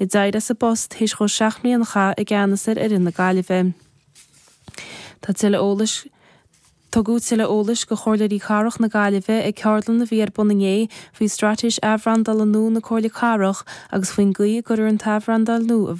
Ag éirí as an bpost théis dhó 7 mbliana a chaitheamh i gceannas ar fhoireann na Gaillimhe. Tá tuilleadh eolais Tugadh tuilleadh eolais do Chomhairleoirí Cathrach na Gaillimhe ag ceardlann a bhí ar bun inné faoi straitéis athbhrandála nua na Comhairle Cathrach agus faoin gcaoi a gcuirfear an t-athbhrandáil nua i.